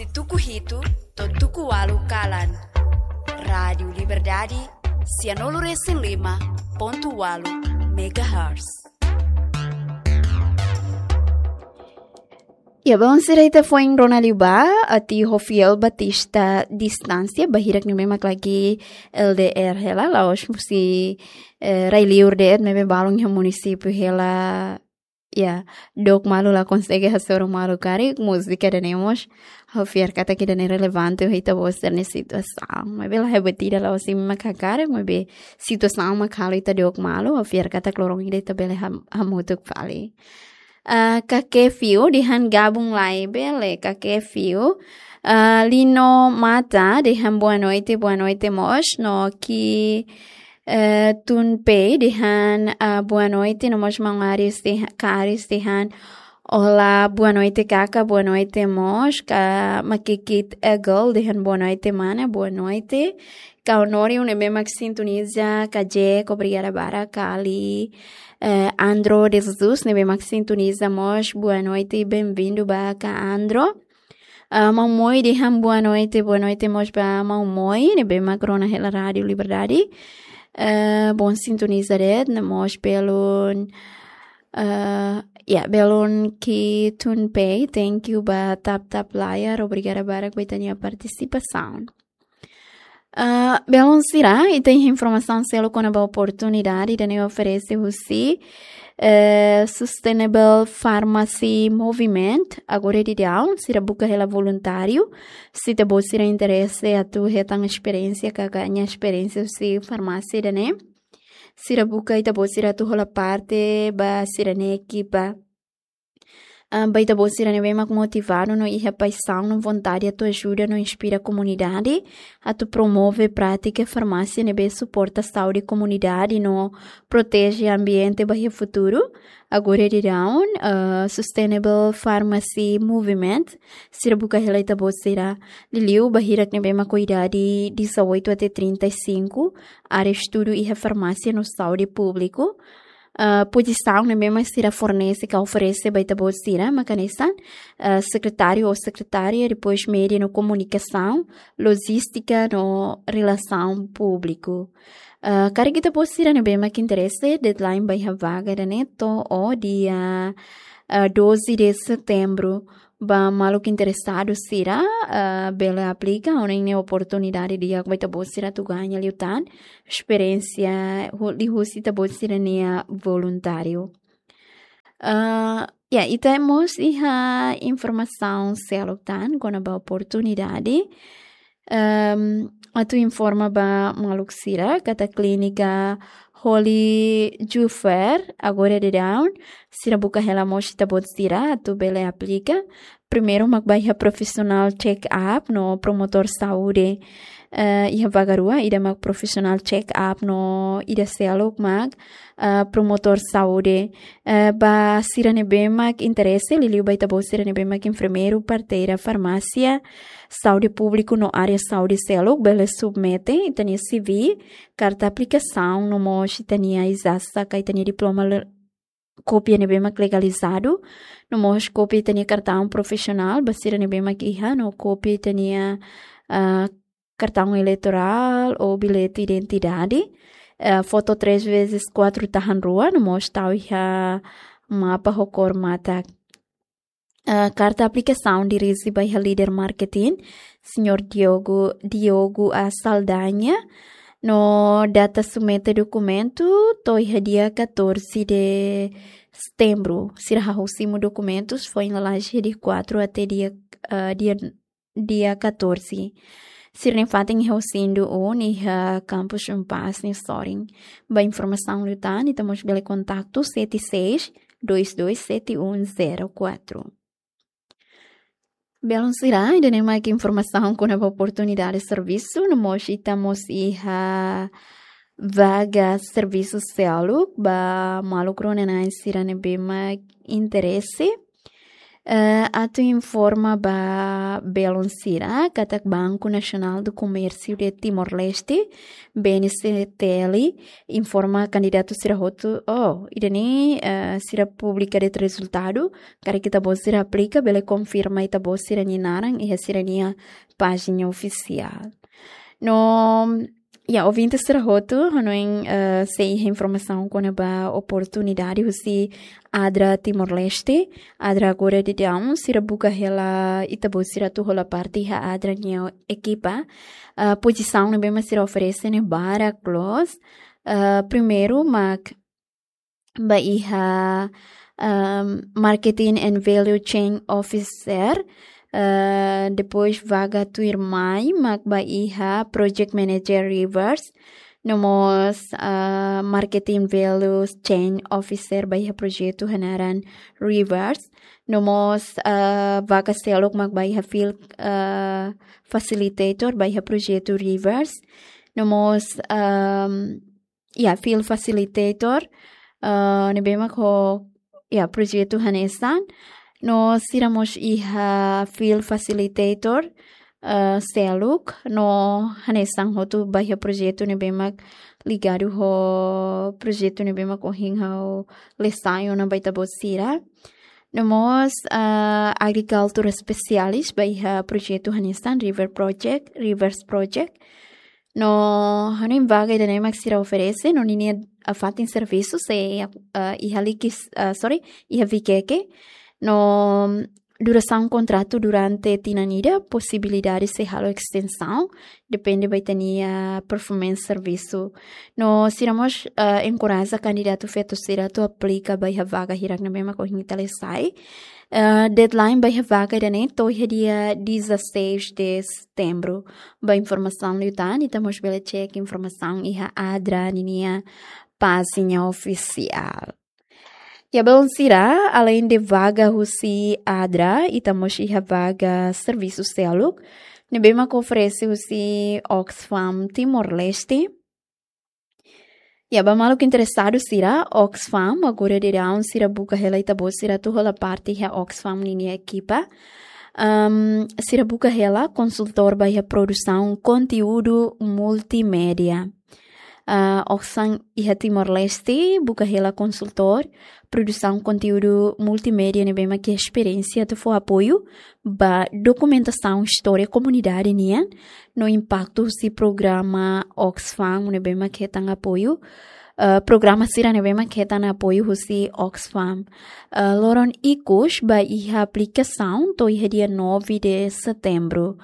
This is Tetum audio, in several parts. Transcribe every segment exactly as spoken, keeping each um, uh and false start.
Husi tuku hitu to'o tuku ualu kalan. Rádiu Liberdade, sianulu resin lima pontu ualu megahertz. Ya, bom, sira ita foin rona liu ba, atu Joviel Batista Distância, bahirak ne'ebé mak lagi L D R hela, la'ós husi, eh, rai-liur de'it, maibé balun iha munisípiu hela, ya, dook malu la konsege hasoru malu karik, múzika ida-ne'e mós ha'u fiar katak ida-ne'e relevante ho ita-boot sira-nia situasaun. Maibé la hebat ida, la'ós imi mak hakarak, maibé situasaun mak halo ita dook malu, ha'u fiar katak loron ida ita bele ham-, hamutuk fali. Ah, Kake Fiu dehan gabung lai, bele, Kake Fiu. Ah, Lino Mata dehan boa noite, boa noite mós, no Ki, eh, Tun Pei dehan, ah, boa noite, no mós maun Aris deha-, Ka Aris dehan, olá, boa noite, Kaka, boa noite mós, Ka Makikit Egol dehan boa noite, mana, boa noite. Ka Honório ne'ebé mak sintoniza, Ka Jack, obrigada barak, Ka Ali, eh, Andro de Jesus ne'ebé mak sintoniza mós, boa noite, bem-vindo ba Ka Andro. Ah, Maun Moi dehan boa noite, boa noite mós ba Maun Moi, ne'ebé mak rona hela Rádiu Liberdade. Eh, bom sintoniza de'it, no mós belun, eh, ya, belun Ki Tun Pei, thank you ba tap tap layar, obrigada barak ba ita-nia partisipasaun. Ah, belun sira, ita iha informasaun seluk kona-ba oportunidade ida-ne'e oferese husi, eh, Sustainable Pharmacy Movement, agora daudaun, sira buka hela voluntáriu, se ita-boot sira interese atu hetan esperiénsia, ka ganha esperiénsia husi farmásia ida-ne'e. Sira buka ita-boot sira atu hola parte ba sira-nia ekipa. Ah, ba ita-boot sira ne'ebé mak motivadu no iha paixaun no vontade atu ajuda no inspira komunidade, atu promove prátika farmásia ne'ebé suporta saúde komunidade no proteje ambiente ba iha futuru. Agora daudaun, ah, Sustainable Pharmacy Movement, sira buka hela ita-boot sira liuliu bahirak ne'ebé mak ho idade dezoito até trinta e cinco, área estudu iha farmásia no saúde públiku. Ah, pozisaun ne'ebé mak sira fornese ka oferese ba ita-boot sira mak hanesan, ah, sekretáriu ou sekretária, depois média no komunikasaun, lojístika no relasaun públiku. Ah, karik ita-boot sira ne'ebé mak interese, deadline ba iha vaga ida-ne'e to'o dia, ah, doze de setembro. Ba maluk interesadu sira, ah, bele aplika, ha'u hanoin ne'e oportunidade di'ak ba ita-boot sira atu ganha liután esperiénsia hu-, liuhusi ita-boot sira-nia voluntáriu. Ah, ya, ita mós iha informasaun seluk tan kona-ba oportunidade. Ehm, atu informa ba maluk sira, katak klínika Holy Jufer, agora daudaun, sira buka hela mós ita-boot sira, atu bele aplika. Primeiru mak ba iha profisionál check-up no promotór saúde, eh, iha vaga rua, ida mak profisionál check-up no ida seluk mak, eh, promotór saúde. Eh, ba sira ne'ebé mak interese, liuliu ba ita-boot sira ne'ebé mak enfermeiru, parteira, farmásia, saúde públiku no área saúde seluk, bele submete ita-nia C V, karta aplikasaun, no mós ita-nia ijazah ka ita-nia diploma le-, kópia ne'ebé mak legalizadu, no mós kópia ita-nia kartaun profisionál, ba sira ne'ebé mak iha, no kópia ita-nia, ah, kartaun eleitorál ou bilhete identidade, eh, foto três vezes quatro tahan rua, no mós tau iha mapa ho kór matak. Eh, karta aplikasaun dirije ba iha líder marketing, señór Diogo, Diogo A Saldanha, no data submete dokumentu to'o iha dia catorze de setembro. Sira hahú simu dokumentus foin lalais iha dia quatro até dia, eh, dia dia catorze. Sira-nia fatin iha Osindu um, iha Campus Umpaz nia sorin. Ba informasaun liután, ita mós bele kontaktu sete seis dois dois sete um zero quatro. Belun sira, ida-ne'e mak informasaun kona-ba oportunidade servisu, no mós ita mós iha vaga servisu seluk ba maluk rona-na'in sira ne'ebé mak interese. Eh, atu informa ba belun sira katak Banco Nacional do Comércio de Timor-Leste, B N C T L, informa kandidatu sira hotu, oh, ida-ne'e, eh, sira publika de'it rezultadu, karik ita-boot sira aplika, bele konfirma ita-boot sira-nia naran iha sira-nia pájina ofisiál. No, ya, ouvinte sira hotu, hanoin, eh, se iha informasaun kona-ba oportunidade husi ADRA Timor-Leste, ADRA agora daudaun, sira buka hela ita-boot sira atu hola parte iha ADRA nia ekipa. Eh, pozisaun ne'ebé mak sira oferese ne'e barak loos. Eh, primeiru mak ba iha, ehm, Marketing and Value Chain Officer. Eh, depois vaga tuirmai mak ba iha Project Manager Rivers. No mós, eh, Marketing Value Chain Officer ba iha projetu hanaran Rivers. No mós, eh, vaga seluk mak ba iha Field, eh, Facilitator ba iha projetu Rivers. No mós, ehm, ya, Field Facilitator, eh, ne'ebé mak ho, ya, projetu hanesan. No sira mós iha Field Facilitator, eh, seluk, no hanesan hotu ba iha projetu ne'ebé mak ligadu ho projetu ne'ebé mak ohin ha'u lesa ona ba ita-boot sira. No mós, eh, Agriculture Specialist ba iha projetu hanesan River Project, Rivers Project. No, hanoin vaga ida-ne'e mak sira oferese, no ninia, ah, fatin servisu sei, ah, iha likis, ah, sorry, iha Vikeke. No, durasaun kontratu durante tinan ida, posibilidade sei halo estensaun, depende ba ita-nia performance servisu. No, sira mós, ah, enkoraja kandidatu feto sira atu aplika ba iha vaga hirak ne'ebé mak ohin ita lesa. Eh, deadline ba iha vaga ida-ne'e to'o iha dia dezasseis de setembro. Ba informasaun liután, ita mós bele cek informasaun iha ADRA ninia pájina ofisiál. Ya, belun sira, alende vaga husi ADRA, ita mós iha vaga servisu seluk ne'ebé mak oferese husi Oxfam Timor-Leste. Ya, ba maluk interesadu sira, Oxfam, agora daudaun sira buka hela ita-boot sira atu hola parte iha Oxfam ninia ekipa. Ehm, sira buka hela konsultór ba iha produsaun konteúdu multimédia. Ah, Oxfam iha Timor-Leste buka hela konsultór produsaun konteúdu multimédia ne'ebé mak iha esperiénsia atu fó apoiu ba dokumentasaun istória komunidade nian, no impaktu husi programa Oxfam ne'ebé mak hetan apoiu, eh, programa sira ne'ebé mak hetan apoiu husi Oxfam. Eh, loron ikus ba iha aplikasaun to'o iha dia nove de setembro.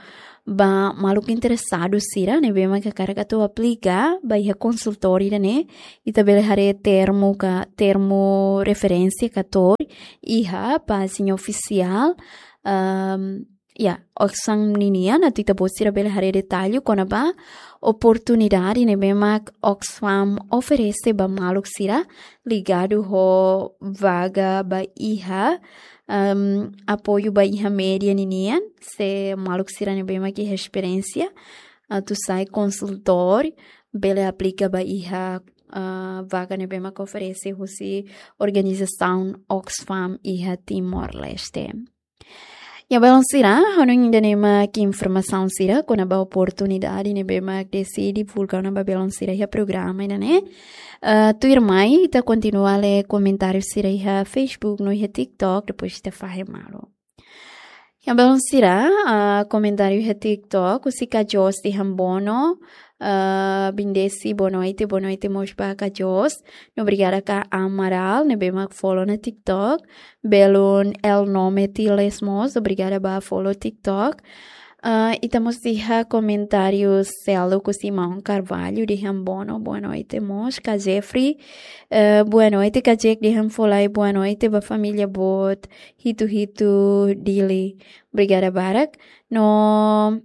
Ba maluk interesadu sira ne'ebé mak hakarak atu aplika ba iha konsultór ida-ne'e, ita bele haree termu ka, termu referénsia ka tor iha pájina ofisiál, ehm, ya, Oxfam ninian, atu ita-boot sira bele haree detallu kona-ba oportunidade ne'ebé mak Oxfam oferese ba maluk sira ligadu ho vaga ba iha, ehm, apoiu ba iha média ninian, se maluk sira ne'ebé mak iha esperiénsia atu sai konsultór, bele aplika ba iha, ah, vaga ne'ebé mak oferese husi organizasaun Oxfam iha Timor-Leste. Ya, belun sira, hanoin ida-ne'e mak informasaun sira kona-ba oportunidade ne'ebé mak Desi divulga ona ba belun sira iha programa ida-ne'e. Ah, tuirmai, ita kontinua lee komentáriu sira iha Facebook, no iha TikTok, depois ita fahe malu. Ya, belun sira, ah, komentáriu iha TikTok, husi Kajos de Hambono, ah, Bindesi, boa noite, boa noite mós ba Kajos. No obrigada ka Amaral, ne'ebé mak follow ona TikTok. Belun El Nome Tiles mós, obrigada ba follow TikTok. Ah, ita mós iha komentáriu seluk husi maun Carvalho de Hambono, boa noite mós. Ka Jeffrey, eh, boa noite, ka Jack de Hamfolai, boa noite ba família boot, hitu-hitu Dili. Obrigada barak. No,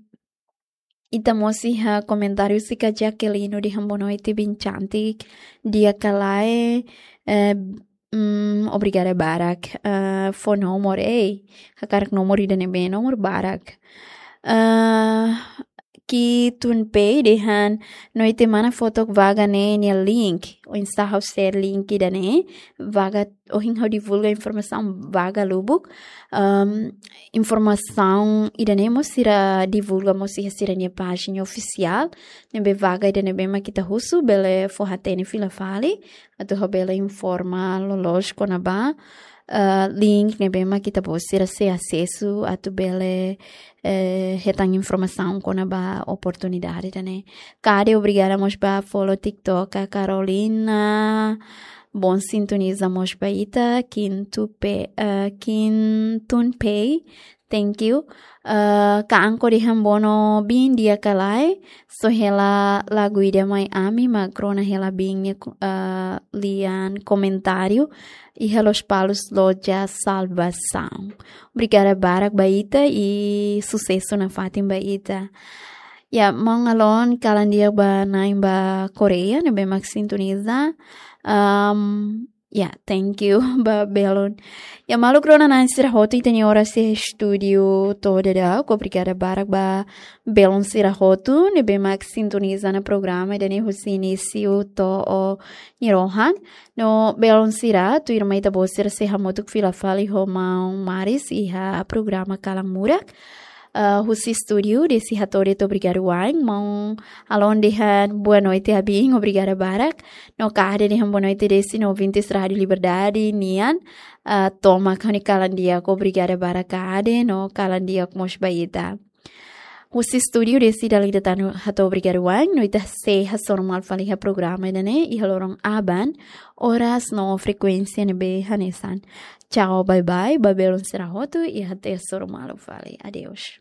ita mós iha komentáriu husi ka Jaqueline de Hambono, boa noite, bin cantik. Dia Kalae, eh, mm, obrigada barak. Eh, fó nomor, ei, hakarak nomor ida ne'ebé, nomor barak. Eh, Ki Tun Pei dehan: Noite mana, foto vaga ne'e nia link. Oinsá ha'u share link ida-ne'e? Vaga, ohin ha'u divulga informasaun vaga lubuk. Ahm, informasaun ida-ne'e mós sira divulga mós iha sira-nia pájina ofisiál. Ne'ebé vaga ida ne'ebé mak ita husu, bele fó-hatene fila fali atu ha'u bele informa loloos kona-ba, eh, link ne'ebé mak ita-boot sira sei asesu atu bele, eh, hetan informasaun kona-ba oportunidade ida-ne'e. Kade, obrigada mós ba follow TikTok, a Carolina. Bom sintoniza mós ba ita, Kintu pe, eh, Kin Tun Pei. Thank you. Eh, Ka Anko dehan: Bono biin di'ak ka lae? Só hela lagu ida mai ami, mak rona hela biin nia ku-, eh, lian komentáriu iha Lospalos Loja Salvasaun. Obrigada barak ba ita i susesu nafatin ba ita. Ya, maun Alon, kalan di'ak ba na'in ba Koreia ne'ebé mak sintoniza. Ahm, ya, thank you ba belun. Ya, maluk rona na'in sira hotu, ita-nia oras iha estúdiu to'o daudauk. Obrigada barak ba belun sira hotu ne'ebé mak sintoniza ona programa ida-ne'e husi inísiu to'o nia rohan. No belun sira, tuirmai ita-boot sira sei hamutuk fila fali ho maun Maris iha programa Kalan Murak. Eh, husi estúdiu Desi hato'o de'it obrigadu wa'in. Maun Alon dehan boa noite, Abin, obrigada barak. No Kade dehan boa noite Desi no ouvintes Rádio Liberdade nian. Eh, tomak ha'u-nia kalan di'ak, obrigada barak Kade, no kalan di'ak mós ba ita. Husi estúdiu Desi dala ida tan hato'o obrigadu wa'in, no ita sei hasoru malu fali iha programa ida-ne'e iha loron aban, oras no frekuénsia ne'ebé hanesan. Tchau, bye bye ba belun sira hotu i até hasoru malu fali. Adeus.